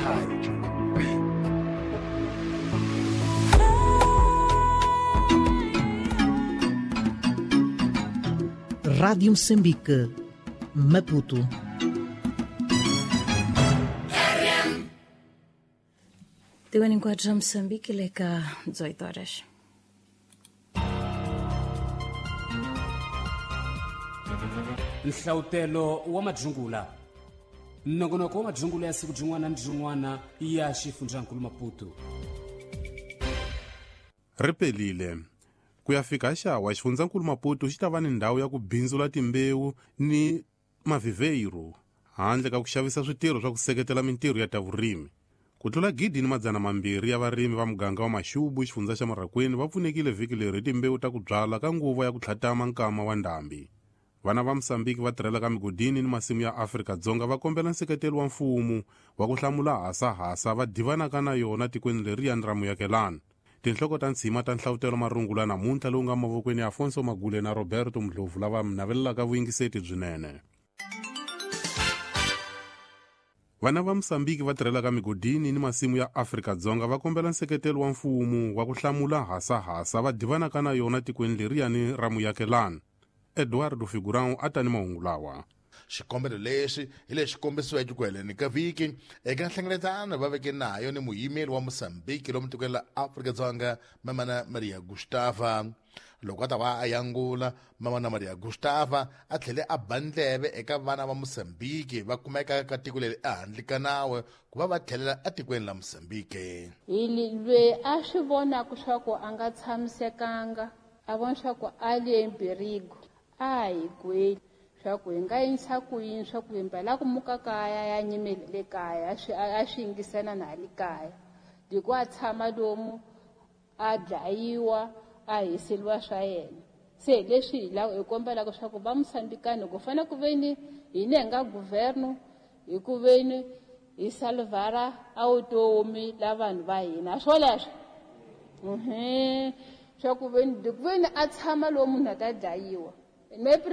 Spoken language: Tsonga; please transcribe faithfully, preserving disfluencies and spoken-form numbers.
Rádio Moçambique, Maputo. Tiwani nkwathu Moçambique leka dezoito horas. Nhlautelo wa madzungula nongonoko wa madzungula ya siku jin'wana ni jin'wana ya xifundzankulu Maputo. Ri pelile ku ya fika xawa xifundzankulu Maputo xi ta va ni ndhawu ya ku bindzula timbewu ni maviveiro handle ka ku xavisa switirho swa ku seketela mintirho ya ta vurimi. Ku tlula gidi ni madzana mambirhi ya varimi va muganga wa Maxubu xifundza xa Marraqueni va pfunekile vhiki leri hi timbewu ta ku byala ka nguva ya ku tlhatama nkama wa ndhambi. Vana va Mosambiki va tirhela ka migodini ni masimu ya Afrika-Dzonga va kombela nseketelo wa mfumo wa ku hlamula hasahasa va divanaka na yona tikweni leriyani ra muyakelani. Tinhloko ta ntshima ta nhlavutelo marungula namuntlha lowu nga mavokweni ya Afonso Magule na Roberto Mdlovu lava mi navelelaka vuyingiseti byinene. Vana va Mosambiki va tirhela ka migodini ni masimu ya Afrika-Dzonga va kombela nseketelo wa mfumo wa ku hlamula hasahasa va divanaka na yona tikweni leriyani ra muyakelani. Eduardo Figurão a ta ni mahungu lawa. Xikombelo lexi hi lexi kombisiweke ku heleni ka vhiki eka nhlengeletano va veke nayo ni muyimeri wa Mosambiki lomu tikweni la Afrika-Dzonga Mamana Maria Gustava. Loko a ta va a yangula, Mamana Maria Gustava a tlhele a ba ndleve eka vana va Mosambiki va kumeka ka tiko leri ehandle ka nawu ku va va tlhelela etikweni la Mosambiki. Hi lweyi a swi vonaka swa ku a nga tshamisekanga, a vona swa ku a le mpirigo, a hi gweli swa ku hi nga yinisa ku yini swa ku hi mbala ku muka kaya ya nyimele le kaya a swi a swi yingisana na le kaya loko a tshama lomu a dlayiwa a hiseriwa swa yena. Se leswi hi lava hi kombelaka swa ku va Mosambikani ku fanele ku veni hina hi nga governo hi ku veni hi salvara a vutomi la vanhu va hina swoleswo mhm swa ku veni ku veni a tshama lomu munhu a ta dlayiwa.